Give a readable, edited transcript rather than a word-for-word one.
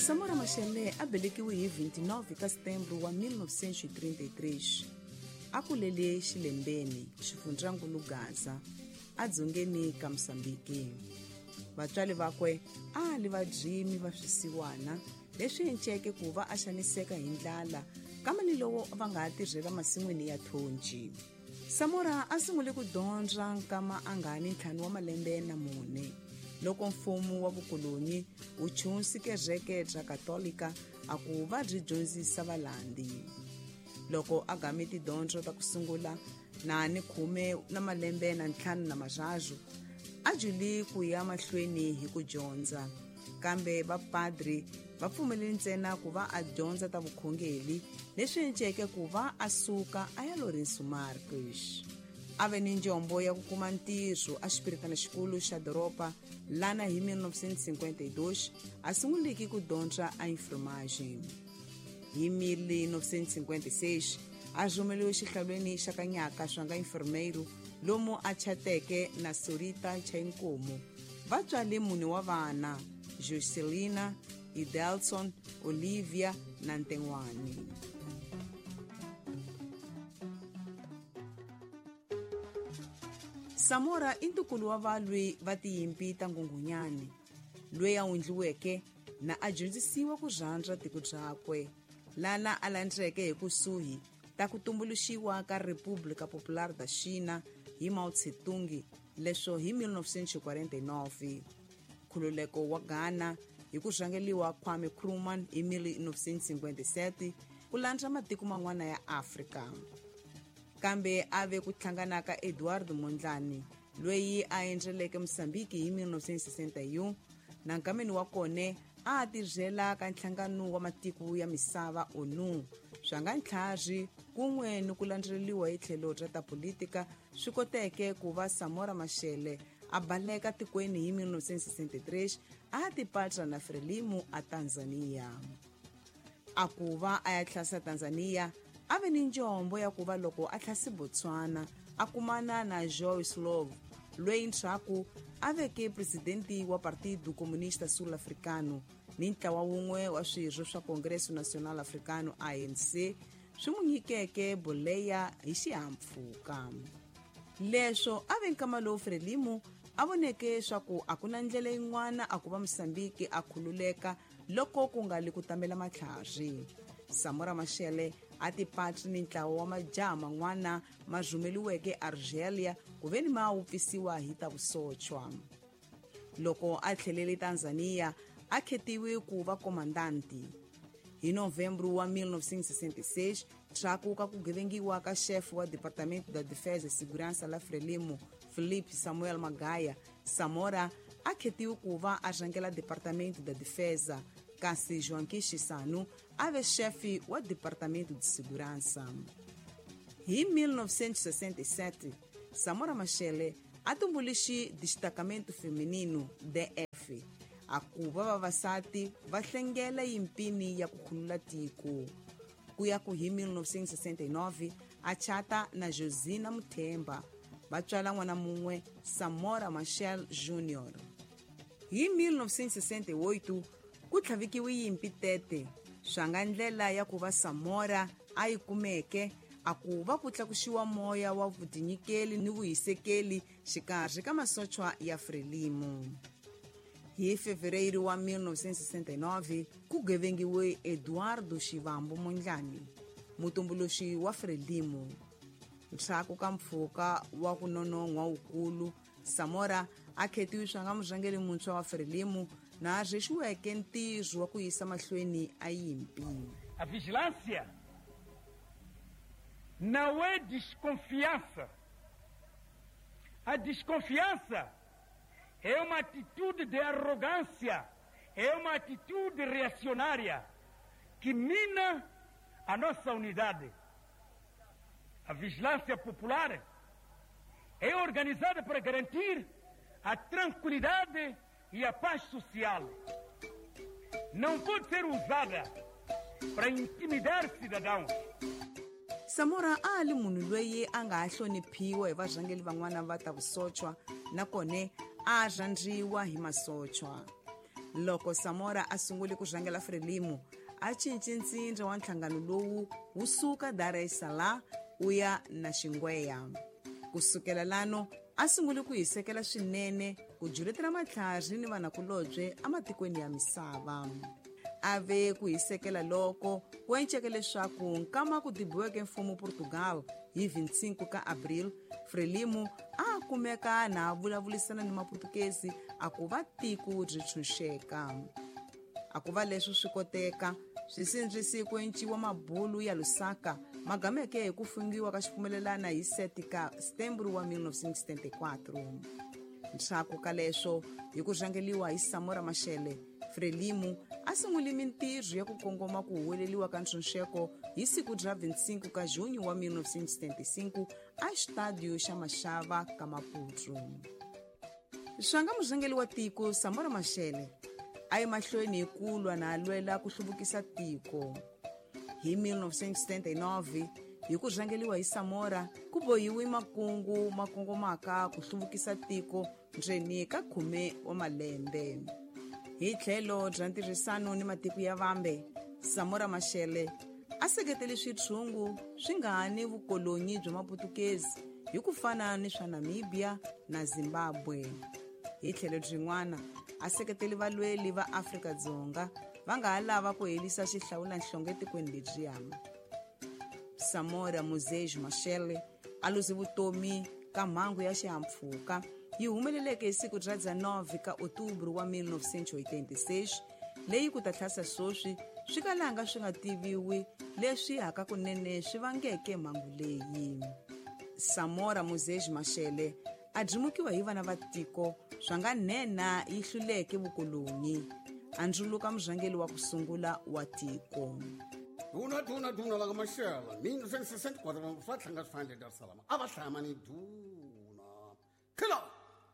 Samora Machel a velekiwe hi 29 ka Setembro wa 1933. A kulele Xilembeni, xifundzankulu Gaza, edzongeni ka Mozambiki. Vatswari vakwe a li vadyimi va swisiwana leswi enceke ku va a xaniseka hi ndlala kama ni lowo va nga ha tirhela masin'wini ya thonji. Samora a sungule ku dyondza nkama a nga ni 5 wa malembe na 4 loko mfumo wa vukoloni wu chunsi kereke bya Katolika a ku va byi dyondzisa valandi. Loko a game tidyondzo ta ku sungula na ni 15 na malembe na 53 a juli ku ya mahlweni hi ku dyondza, kambe vapadri va pfumelele ntsena ku va a dyondza ta vukhongeri leswi enceke ku va a suka a ya Lourenço Marques. A ve ni njombo ya ku kuma ntirho a xipiritana xikulu xa doroba lana hi 1952 a sunguliki ku dyondza a enfermagem. Hi 1956 a rhumeliwe xihlalweni xa Kanyaka swanga enfermeiro lomu a chateke na Sorita Chainkomo. Va tswale mune wa vana, Jocelina, Idelson, Olivia na Ntengwani. Samora i ntukulu wa valwi va tiyimpi ta Nghunghunyani, loyi a wundliweke na a dyondzisiwa ku rhandza tiko byakwe, lana a landzeke hi kusuhi ta ku tumbuluxiwa ka República Popular da China hi Mao Tse-tung leswo hi 1949. Nkhululeko wa Ghana hi ku rhangeliwa Kwame Nkrumah hi 1957 ku landza matiko man'wana ya Afrika. Kambe a ve ku hlangana ka Eduardo Mondlane loyi a endleleke Mozambiki hi 1961 na nkameni wa kone a tirhela ka nhlangano wa matiko ya misava ONU swa nga ntlhari kun'we ni ku landzeleriwa hi tlhelo ra ta politika swi koteke ku va Samora Machel a baleka tikweni hi 1963 a tipatra na Frelimo a Tanzania. A ku va a ya tlhasa Tanzania a ve ni njombo ya ku va loko a tlhasi Botswana a kumana na Joyce Love loyi ndzhaku a veke presidenti wa Partido Comunista Sul Africano ni ntlawa wun'we wa swirho swa Congresso Nacional Africano ANC swi n'wi nyikeke boleya hi xihahampfhuka. Leswo a ve nkama lowu Frelimo a voneke swa ku a ku na ndlela yin'wana a ku va Mozambiki a khululeka loko ku nga li ku tamela matlhari. Samora Machel a tipatri ni ntlawa wa majaha man'wana ma rhumeliweke Argelia ku veni ma wupfisiwa hi ta vusochwa. Loko a tlhelele Tanzania a khetiwe ku va komandanti. Hi Novembro wa 1966 ndzhaku ka ku gevengiwa ka chef wa Departamento da Defesa e Segurança la Frelimo Felipe Samuel Magaya, Samora a khetiwe ku va a rhangela Departamento da Defesa, kasi Joaquim Chissano a ve chefe wa Departamento de Segurança. Hi 1967 Samora Machel a tumbuluxi Destacamento Feminino DF a ku va vavasati va hlengela yimpini ya ku khulula tiko. Ku ya ku hi 1969 a chata na Josina Muthemba va tswala n'wana mun'we Samora Machel Jr. Hi 1968 ku tlhavikiwe yimpi tete swa nga ndlela ya ku va Samora a yi kumeke a ku va ku tlakuxiwa moya wa vutinyikeli ni vuhisekeli xikarhi ka masochwa ya Frelimo. Hi Fevereiro wa 1969 ku gevengiwe Eduardo Chivambo Mondlane, mutumbuluxi wa Frelimo. Ndzhaku ka mpfhuka wa ku nonon'hwa wukulu, Samora a khetiwe swa nga murhangeri muntshwa wa Frelimo na a rhexiweke ntirho wa ku yisa mahlweni a yimpi. A vigilância não é desconfiança. A desconfiança é uma atitude de arrogância, é uma atitude reacionária que mina a nossa unidade. A vigilância popular é organizada para garantir a tranquilidade e a paz social. Não pode ser usada para intimidar cidadãos. Samora a li munhu loyi a nga ha hloniphiwa hi varhangeri van'wana va ta vusochwa nakona a rhandziwa hi masochwa. Loko Samora a sungule ku rhangela Frelimo, a cince ntsindza wa nhlangano lowu wu suka Dar es Salaam wu ya na Xingweya. Ku sukela lano a sungule ku hisekela swinene ku juletela matlhari ni vanakulobye ematikweni ya misava. A ve ku hisekela loko ku enceke leswaku nkama ku dibiweke mfumo Portugal hi 25 ka Abril, Frelimo a kumeka na vulavulisana ni Maputukezi a ku va tiko byi tshunxeka. A ku va leswi swi koteka, swisindzisi ku enciwa mabulu ya Lusaka magameke hi ku fungiwa ka xipfumelelana hi 7 ka Setembro wa 1974. Ndzhaku ka leswo, hi ku rhangeliwa hi Samora Machel, Frelimo a sungule mintirho ya ku kongoma ku huweleliwa ka ntshunxeko hi siku ra 25 ka Junho wa 1975 a xitadio xa Mashava ka Maputo. Swanga murhangeri wa tiko Samora Machel a yi mahlweni hi ku lwa na lwela ku hluvukisa tiko. Hi 1979, hi ku rhangeliwa hi Samora, ku bohiwe makungu ma kongomaka ku hluvukisa tiko ndzeni ka 10 wa malembe. Hi tlhelo bya ntirhisano ni matiko ya vambe, Samora Machel a seketele switshungu swi nga ni vukolonyi bya Maputukezi hi ku fana ni swa Namibia na Zimbabwe. Hi tlhelo byin'wana, a seketele valweli va Afrika-Dzonga va nga ha lava ku herisa xihlawulanhlonge etikweni lebyiya. Samora Moses Machel a luze vutomi ka mhangu ya xihahampfhuka yi humeleleke hi siku ra 9 ka Otubro wa 1986, leyi ku ta tlhasa sweswi swi kalanga swi nga tiviwi leswi hakakunene swi vangeke mhangu leyi. Samora Moses Machel a dyimukiwa hi vana va tiko swa nga nhenha yi hluleke vukoloni, a ndzuluka murhangeri wa ku sungula wa tiko. Duna duna duna la Machel, 1964 va tlhanga swi fanele Dar es Salaam, a va hlaya mani duna. Khila.